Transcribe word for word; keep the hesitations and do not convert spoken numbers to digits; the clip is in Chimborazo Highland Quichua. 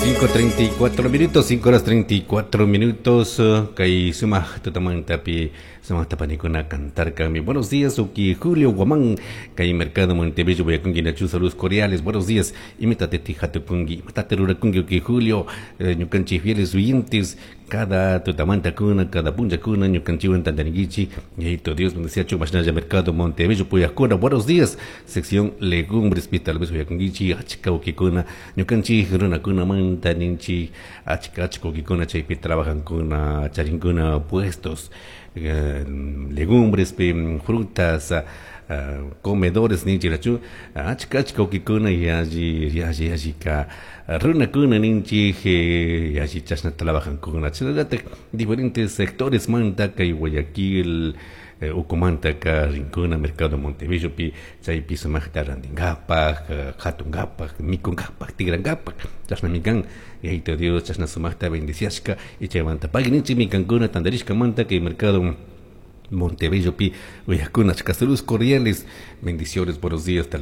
Cinco treinta y cuatro minutos, cinco horas treinta y cuatro minutos. Kay sumaq tutamantapi sumaqta panikuna cantarkami. Buenos días, uki Julio Guamán. Kay Mercado Montebello, uyakunki nachu saludos cordiales. Buenos días. Imatate hatukunki, imatate rurakunki uki Julio. Eh, ñukanchik fieles oyentes. Cada tutamanta kuna, cada punchakuna, ñukanchikwan tantarinkichik. Yayito Dios, bendeciachu, mashnalla Mercado Montebello, puyakuna. Buenos días. Sección Legumbres, tal vez uyakunkichik, achka ukikuna, ñukanchik runakuna manta ninchik, achka achka ukikuna chaypi trabajankuna, charinkuna puestos, eh, legumbres, frutas, uh, comedores ninchirachu, achka achka ukikuna yalli yalli yalli ka runakuna ninchik, yalli chashna trabajankuna, chashnallatak diferentes sectores manta kay Guayaquil, eh, ukumantaka rinkuna Mercado Montebellopi chaypi sumaqta rantinkapaq, hatunkapaq, mikunkapaq, tigrankapaq, chashnami kan Yayito Dios chashna sumaqta bendiciashka y chaymanta pagui ninchikmi kankuna tantarishkamanta kay Mercado Montebellopi uyakuna achka saludos cordiales, bendiciones, buenos días.